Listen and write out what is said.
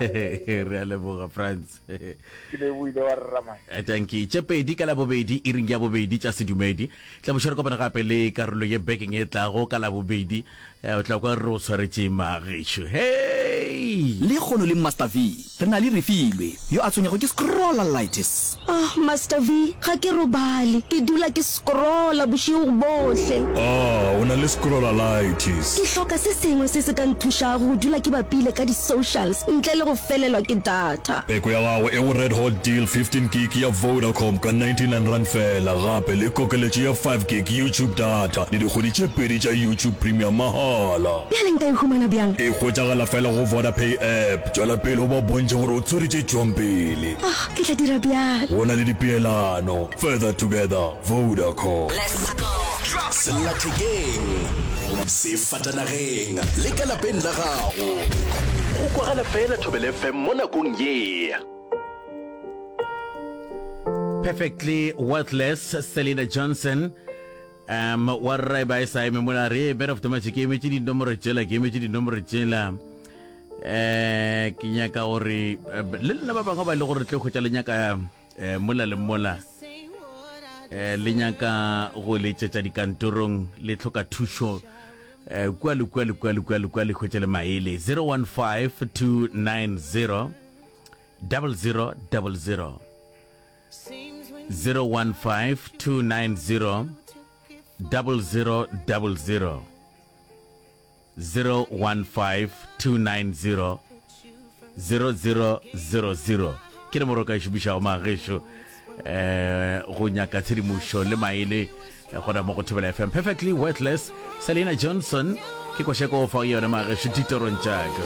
Re a leboga Frans. Ke leboile wa rra man. Eh, Dankie. Tše pedi ka Labobedi, iring ya bobedi tša sedumedi. Tla bošo re kopana gape le karolo ye bekeng e tlago ka Labobedi. Eh, o tla kwa re o swaretše magešo. Hei! Lekgono le Master V. Re na le Refilwe, yo a tshwenyago ke scrollalitis. Ah, Master V, ga ke robale. Ke dula ke scrolla bošego bohle. Ah, o na le scrollalitis. Ke hloka se sengwe se se ka nthušago go dula ke bapile ka di-socials ntle le go felelwa ke data. Peko ya gago e go Red Hot Deal 15 gig ya Vodacom ka R99 feela, gape le kokeletšo ya 5 gig YouTube data le dikgwedi tše pedi tša YouTube Premium mahala. Bjale nka e humana bjang? E hwetšagala fela go Vodapay app. Tšwela pele o ba bontšhe gore o tswere tše tšwang pele. Ah, ke tla dira bjalo. Go na le dipeelano. Further together, Vodacom. Sellathekeng, sefatanageng le ka lapeng la gago. Go kwagala fela Thobela FM mo nakong ye. Perfectly Worthless, Selena Johnson. Um wa rra e ba e sa eme mola re man of the match ke emetše dinomoro tšela ke emetše dinomoro tšela eh ke nyaka gore eh, le lena ba bangwe ba e le gore tle hwetša le nyaka eh, mola le mola eh, le nyaka go letšetša dikantorong le hloka thušo eh, kua le kua le kua le kua le kua le hwetše le maele 015 290 0000 015 290 0000 015 290 0000 ke nomoro o ka e šomišago magešo eh go nyaka tshedimošo le maele eh, gona mo go Thobela FM perfectly worthless Selena Johnson ke košeko o fa yona magešo ditorong tšaka.